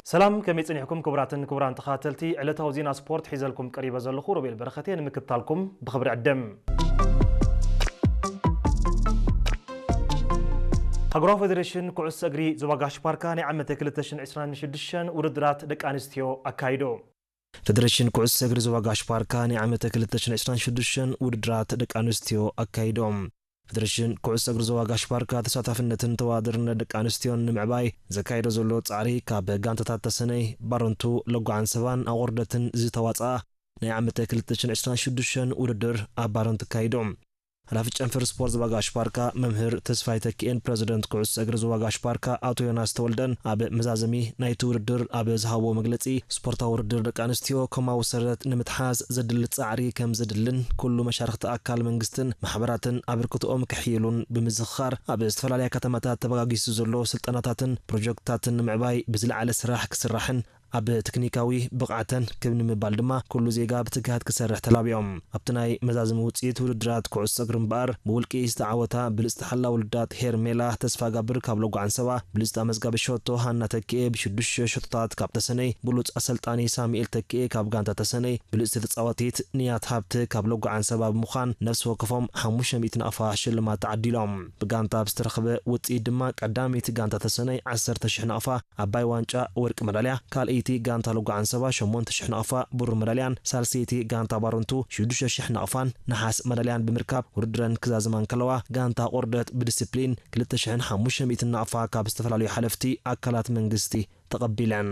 ሰላም፣ ከመይ ጸኒሕኩም ክቡራትን ክቡራን ተኸታተልቲ ዕለታዊ ዜና ስፖርት? ሒዘልኩም ቀሪበ ዘለኹ ሮቤል በረኸት እየ። ንምክትታልኩም ብኽብሪ ዕድም። ሃገራዊ ፌደሬሽን ኩዕሶ እግሪ ዞባ ጋሽ ባርካ ናይ ዓመተ ክልተ ሽሕን ዕስራን ሽዱሽተን ውድድራት ደቂ ኣንስትዮ ኣካይዶ። ፌደሬሽን ኩዕሶ እግሪ ዞባ ጋሽ ባርካ ናይ ዓመተ ክልተ ሽሕን ዕስራን ሽዱሽተን ውድድራት ደቂ ኣንስትዮ ኣካይዶ። ፌደሬሽን ኩዕሶ እግሪ ዞባ ጋሽ ባርካ ተሳታፍነትን ተወዳዳርነት ደቂ ኣንስትዮን ንምዕባይ ዘካየዶ ዘሎ ጻዕሪ፣ ካብ ጋንታታት ተሰነይ፣ ባረንቱ፣ ለጓ ዓንሰባን ኣቑርደትን ዝተዋጽኣ ናይ ዓመተ ክልተ ሽሕን ዕስራን ሽዱሽተን ውድድር ኣብ ባረንቱ ኣካይዱ። ሓላፊ ጨንፈር ስፖርት ዞባ ጋሽ ባርካ መምህር ተስፋይ ተኪኤን ፕረዚደንት ኩዕሶ እግሪ ዞባ ጋሽ ባርካ ኣቶ ዮናስ ተወልደን ኣብ መዛዘሚ ናይቲ ውድድር ኣብ ዝሃብዎ መግለጺ፣ ስፖርታዊ ውድድር ደቂ ኣንስትዮ ኮማዊ ሰረት ንምትሓዝ ዘድሊ ጻዕሪ ከም ዘድልን ኩሉ መሻርኽቲ ኣካል መንግስትን ማሕበራትን ኣበርክቶኦም ከሕይሉን ብምዝኽኻር፣ ኣብ ዝተፈላለያ ከተማታት ተበጋጊሱ ዘሎ ስልጠናታትን ፕሮጀክትታትን ንምዕባይ ብዝለዓለ ስራሕ ክስራሕን ኣብ ቴክኒካዊ ብቕዓተን ክብ ንምባል ድማ ኩሉ ዜጋ ብትግሃት ክሰርሕ ተላቢዮም። ኣብቲ ናይ መዛዘሚ ውጽኢት ውድድራት ኩዕሶ እግሪ እምበኣር ብውልቂ ዝተዓወታ ብልጽቲ ሓላ ውልዳት ሄርሜላ ተስፋጋብር ካብ ለጓ ዓንሰባ፣ ብልጽታ መዝጋቢ ሸቶ ሃና ተኪኤ ብሽዱሽተ ሸቶታት ካብ ተሰነይ፣ ብሉጽ ኣሰልጣኒ ሳሙኤል ተኪኤ ካብ ጋንታ ተሰነይ፣ ብልጽቲ ተጻዋቲት ንያት ሃብተ ካብ ለጓ ዓንሰባ ብምዃን ነፍሲ ወከፎም ሓሙሽተ ሚእቲ ናቕፋ ሽልማት ተዓዲሎም። ብጋንታ ብዝተረኽበ ውጽኢት ድማ ቀዳመይቲ ጋንታ ተሰነይ ዓሰርተ ሽሕ ናቕፋ፣ ዓባይ ዋንጫ ወርቂ መዳልያ፣ ካልኣይቲ ጋንታ ለጓ ዓንሰባ ሸሞንተ ሽሕ ናቕፋ ብሩር መዳልያን ሳልሰይቲ ጋንታ ባረንቱ ሽዱሽተ ሽሕ ናቕፋን ነሓስ መዳልያን ብምርካብ ውድድረን ክዛዝማ እንከለዋ፣ ጋንታ ቆርደት ብዲስፕሊን ክልተ ሽሕን ሓሙሽተ ሚእትን ናቕፋ ካብ ዝተፈላለዩ ሓለፍቲ ኣካላት መንግስቲ ተቐቢለን።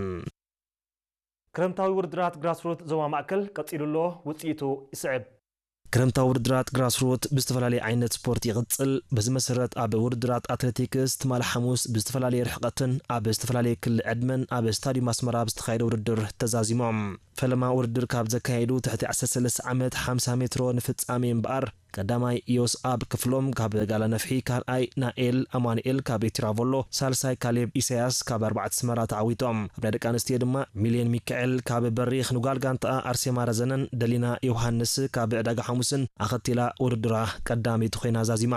ክረምታዊ ውድድራት ግራስሩት ዞባ ማእከል ቀጺሉ ኣሎ፣ ውጽኢቱ ይስዕብ። ክረምታዊ ውድድራት ግራስሩት ብዝተፈላለየ ዓይነት ስፖርት ይቕጽል። በዚ መሰረት ኣብ ውድድራት ኣትሌቲክስ ትማሊ ሓሙስ ብዝተፈላለየ ርሕቐትን ኣብ ዝተፈላለየ ክሊ ዕድመን ኣብ ስታዲዩም ኣስመራ ብዝተኻየደ ውድድር ተዛዚሞም። ፈለማ ውድድር ካብ ዘካየዱ ትሕቲ ዓሰርተ ሰለስተ ዓመት ሓምሳ ሜትሮ ንፍጻሜ እምበኣር፣ ቀዳማይ ዮስኣብ ክፍሎም ካብ ጋላ ነፍሒ፣ ካልኣይ ናኤል ኣማኑኤል ካብ ኤቲራቮሎ፣ ሳልሳይ ካሌብ ኢሳያስ ካብ ኣርባዕተ ኣስመራ ተዓዊቶም። ኣብ ናይ ደቂ ኣንስትዮ ድማ ሚልዮን ሚካኤል ካብ በሪኽ ንጓል ጋንታኣ ኣርሴማ ረዘነን ደሊና ዮሃንስ ካብ ዕዳጋ ሓሙስን ኣኸቲላ ውድድራ ቀዳመይቲ ኮይና ዛዚማ።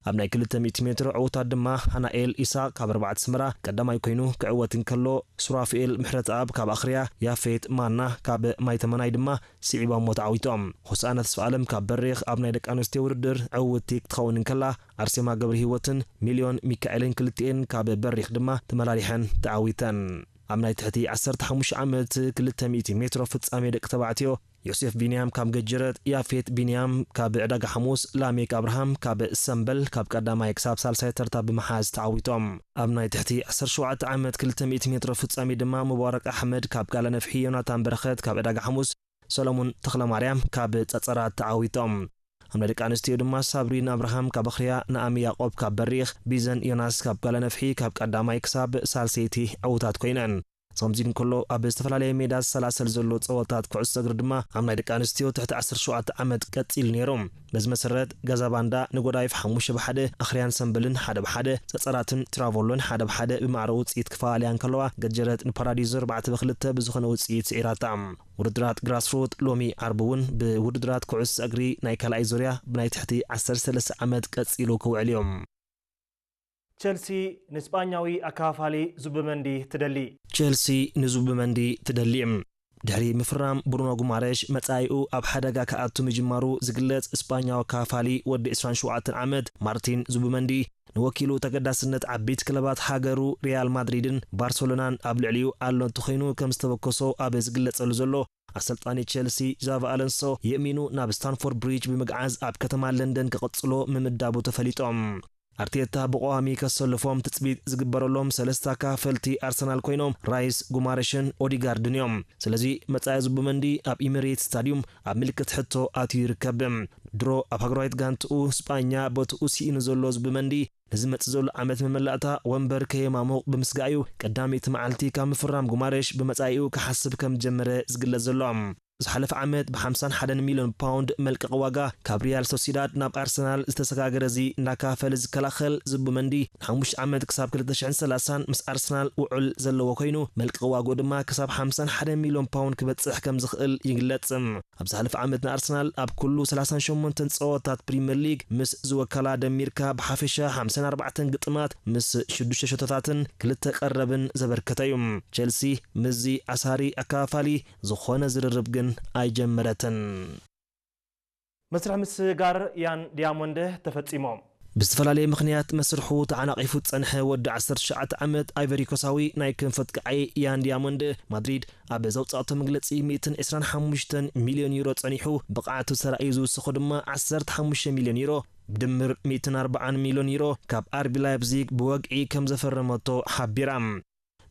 ኣብ ናይ ክልተ ሚእቲ ሜትሮ ዕውታት ድማ ሃናኤል ኢሳቕ ካብ ኣርባዕተ ኣስመራ ቀዳማይ ኮይኑ ክዕወት እንከሎ፣ ሱራፍኤል ምሕረተኣብ ካብ ኣኽርያ፣ ያፌት ማና ካብ ማይ ተመናይ ድማ ስዒቦሞ ተዓዊቶም። ሆሳእና ተስፋኣለም ካብ በሪኽ ኣብ ናይ ደቂ ኣንስትዮ ውድድር ዕውትቲ ክትኸውን እንከላ፣ ኣርሴማ ገብረሂወትን ሚልዮን ሚካኤልን ክልቲኤን ካብ በሪኽ ድማ ተመላሊሐን ተዓዊተን። ኣብ ናይ ትሕቲ ዓሰርተ ሓሙሽተ ዓመት ክልተ ሚእቲ ሜትሮ ፍጻሜ ደቂ ተባዕትዮ፣ ዮሴፍ ቢንያም ካብ ገጀረት፣ ያፌት ቢንያም ካብ ዕዳጋ ሓሙስ፣ ላሜክ ኣብርሃም ካብ ሰምበል ካብ ቀዳማይ ክሳብ ሳልሳይ ተርታ ብምሓዝ ተዓዊቶም። ኣብ ናይ ትሕቲ ዓሰርተ ሸውዓተ ዓመት ክልተ ሚእቲ ሜትሮ ፍጻሜ ድማ፣ ሙባረክ ኣሕመድ ካብ ጋላ ነፍሒ፣ ዮናታን በረኸት ካብ ዕዳጋ ሓሙስ፣ ሰሎሙን ተኽለማርያም ካብ ጸጸራት ተዓዊቶም። ኣብ ናይ ደቂ ኣንስትዮ ድማ፣ ሳብሪን ኣብርሃም ካብ ኣኽርያ፣ ናኣሚ ያዕቆብ ካብ በሪኽ፣ ቢዘን ዮናስ ካብ ጋላ ነፍሒ ካብ ቀዳማይ ክሳብ ሳልሰይቲ ዕዉታት ኮይነን። ከምዚ እንከሎ፣ ኣብ ዝተፈላለየ ሜዳ ዝሰላሰል ዘሎ ጸወታት ኩዕሶ እግሪ ድማ፣ ኣብ ናይ ደቂ ኣንስትዮ ትሕቲ ዓሰርተ ሸውዓተ ዓመት ቀጺሉ ነይሩ። በዚ መሰረት፣ ገዛ ባንዳ ንጎዳይፍ ሓሙሽተ ብ ሓደ፣ ኣኽርያን ሰምበልን ሓደ ብ ሓደ፣ ጸጸራትን ትራቮሎን ሓደ ብ ሓደ ብማዕረ ውጽኢት ክፈላለያ እንከለዋ፣ ገጀረት ንፓራዲዞ ኣርባዕተ ብ ክልተ ብዝኾነ ውጽኢት ስዒራታ። ውድድራት ግራስሩት ሎሚ ዓርቢ እውን ብውድድራት ኩዕሶ እግሪ ናይ ካልኣይ ዙርያ ብናይ ትሕቲ ዓሰርተ ሰለስተ ዓመት ቀጺሉ ክውዕል እዩ። ቸልሲ ንስጳኛዊ ኣከፋፋሊ ዙብመንዲ ትደሊ። ቸልሲ ንዙብመንዲ ትደሊ። ድሕሪ ምፍራም ብሩኖ ጉማሬሽ መጻኢኡ ኣብ ሓደጋ ክኣቱ ምጅማሩ ዝግለጽ ስጳኛዊ ኣከፋፋሊ ወዲ ዕስራን ሸውዓተን ዓመት ማርቲን ዙብመንዲ፣ ንወኪሉ ተገዳስነት ዓበይቲ ክለባት ሃገሩ ሪያል ማድሪድን ባርሰሎናን ኣብ ልዕሊኡ ኣሎ እንተኾይኑ ከም ዝተበከሶ ኣብ ዝግለጸሉ ዘሎ፣ ኣሰልጣኒ ቸልሲ ዛቪ ኣለንሶ የእሚኑ ናብ ስታንፎርድ ብሪጅ ብምግዓዝ ኣብ ከተማ ለንደን ክቕጽሎ ምምዳቡ ተፈሊጦም። ኣርቴታ ብቐዋሚ ከሰልፎም ትጽቢት ዝግበረሎም ሰለስተ ኣካፈልቲ ኣርሰናል ኮይኖም፣ ራይስ፣ ጉማሬሽን ኦዲጋርድን እዮም። ስለዚ መጻኢ ዙብመንዲ ኣብ ኢሚሬትስ ስታዲዩም ኣብ ምልክት ሕቶ ኣትዩ ይርከብ። ድሮ ኣብ ሃገራዊት ጋንትኡ ስጳኛ ቦትኡ ስኢኑ ዘሎ ዙብመንዲ፣ ንዝመጽእ ዘሎ ዓመት መመላእታ ወንበር ከየማሙቕ ብምስጋእ እዩ ቀዳመይቲ መዓልቲ ካብ ምፍራም ጉማሬሽ ብመጻኢኡ ክሓስብ ከም ዝጀመረ ዝግለጽ ዘሎ። ዝሓለፈ ዓመት ብ51 ሚልዮን ፓውንድ መልቀቕ ዋጋ ካብ ሪያል ሶሲዳድ ናብ ኣርሰናል ዝተሰጋገረ እዚ እንዳካፈለ ዝከላኸል ዝቡመንዲ፣ ንሓሙሽተ ዓመት ክሳብ ክልተ ሽሕን ሰላሳን ምስ ኣርሰናል ውዑል ዘለዎ ኮይኑ፣ መልቀቕ ዋግኡ ድማ ክሳብ ሓምሳን ሓደን ሚልዮን ፓውንድ ክበጽሕ ከም ዝኽእል ይግለጽ። ኣብ ዝሓለፈ ዓመት ንኣርሰናል ኣብ ኩሉ ሰላሳን ሸሞንተን ጸወታት ፕሪምየር ሊግ ምስ ዝወከላ ደሚርካ ብሓፈሻ ሓምሳን ኣርባዕተን ግጥማት ምስ ሽዱሽተ ሸቶታትን ክልተ ቀረብን ዘበርከተ እዩ። ቸልሲ ምስዚ ኣሳሪ ኣካፋሊ ዝኾነ ዝርርብ ግን ኣይጀመረትን። መስርሕ ምስጋር ያን ዲያሞንድ ተፈጺሙ። ብዝተፈላለየ ምኽንያት መስርሑ ተዓናቒፉ ዝጸንሐ ወዲ ዓሰርተ ትሽዓተ ዓመት ኣይቨሪኮሳዊ ናይ ክንፈት ከዓይ ያን ዲያሞንድ፣ ማድሪድ ኣብ ዘውጻእቶ መግለጺ፣ ሚእትን ዕስራን ሓሙሽተን ሚልዮን ዩሮ ጸኒሑ ብቕዓቱ ተራእዩ ዝውስኹ ድማ ዓሰርተ ሓሙሽተ ሚልዮን ዩሮ፣ ብድምር ሚእትን ኣርባዓን ሚልዮን ዩሮ ካብ ኣርቢ ላይፕዚግ ብወግዒ ከም ዘፈረመቶ ሓቢራ።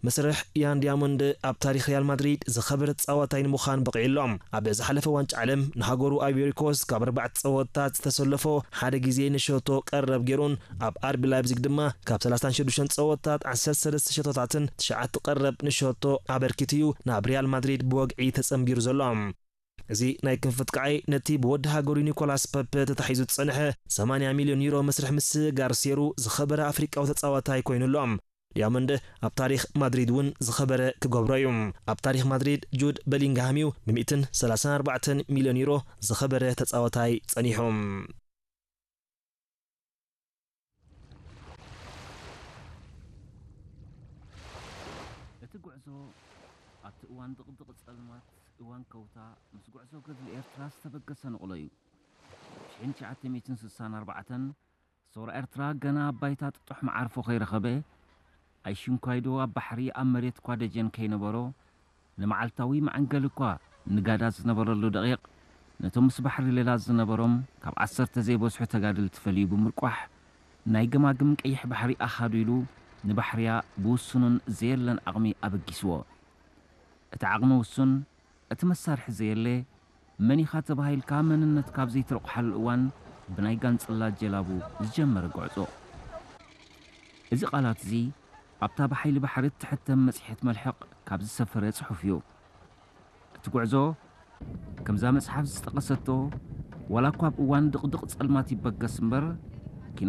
መስርሕ ያን ዲያሞንድ ኣብ ታሪኽ ሪያል ማድሪድ ዝኸበረ ተጻዋታይ ንምዃን በቒዑ ኣሎ። ኣብ ዝሓለፈ ዋንጫ ዓለም ንሃገሩ ኣይቨሪኮስት ካብ ኣርባዕተ ጸወታት ዝተሰለፎ ሓደ ግዜ ንሸቶ ቀረብ ገይሩን ኣብ ኣርቢ ላይፕዚግ ድማ ካብ ሰላሳን ሽዱሽተን ጸወታት ዓሰርተ ሰለስተ ሸቶታትን ትሽዓተ ቀረብ ንሸቶ ኣበርኪቱ እዩ ናብ ሪያል ማድሪድ ብወግዒ ተጸንቢሩ ዘሎ። እዚ ናይ ክንፈት ከዓይ ነቲ ብወዲ ሃገሩ ኒኮላስ ፐፐ ተታሒዙ ዝጸንሐ ሰማንያ ሚልዮን ዩሮ መስርሕ ምስጋር ሴሩ ዝኸበረ ኣፍሪቃዊ ተጻዋታይ ኮይኑ ኣሎ። ዲያሞንድ ኣብ ታሪኽ ማድሪድ እውን ዝኸበረ ክገብሮ እዩ። ኣብ ታሪኽ ማድሪድ ጁድ በሊንግሃም እዩ ብ134 ሚልዮን ዩሮ ዝኸበረ ተጻዋታይ ጸኒሑ። እቲ ጉዕዞ ኣብቲ እዋን ድቕድቕ ጸልማት፣ እዋን ከውታ፣ ምስ ጉዕዞ ገድሊ ኤርትራ ዝተበገሰ ንቕሎ እዩ። ሽሕን ትሽዓተ ሚእትን ስሳን ኣርባዕተን ሰውራ ኤርትራ ገና ኣብ ባይታ ጥጡሕ መዓርፎ ከይረኸበ፣ ኣይሽንኳይዶ ኣብ ባሕሪ ኣብ መሬት እኳ ደጀን ከይነበሮ፣ ንመዓልታዊ መዐንገሊ እኳ ንጋዳ ዝነበረሉ ደቂቕ፣ ነቶም ምስ ባሕሪ ሌላ ዝነበሮም ካብ ዓሰርተ ዘይበዝሑ ተጋደልቲ ፈልዩ ብምርቋሕ፣ ናይ ገማግም ቀይሕ ባሕሪ ኣሃዱ ኢሉ ንባሕርያ ብውሱኑን ዘየለን ዓቕሚ ኣበጊስዎ። እቲ ዓቕሚ ውሱን፣ እቲ መሳርሒ ዘየለ፣ መን ኢኻ ተባሂልካ መንነትካ ኣብ ዘይትረቑሓሉ እዋን ብናይ ጋንጽላ ጀላቡ ዝጀመረ ጉዕዞ። እዚ ቃላት እዚ ኣብታ ብሓይሊ ባሕሪ እትሕተም መጽሔት መልሕቕ ካብ ዝሰፈረ ጽሑፍ እዩ። እቲ ጉዕዞ ከምዛ መጽሓፍ ዝጠቐሰቶ፣ ዋላ እኳ ኣብ እዋን ድቕድቕ ጸልማት ይበገስ እምበር፣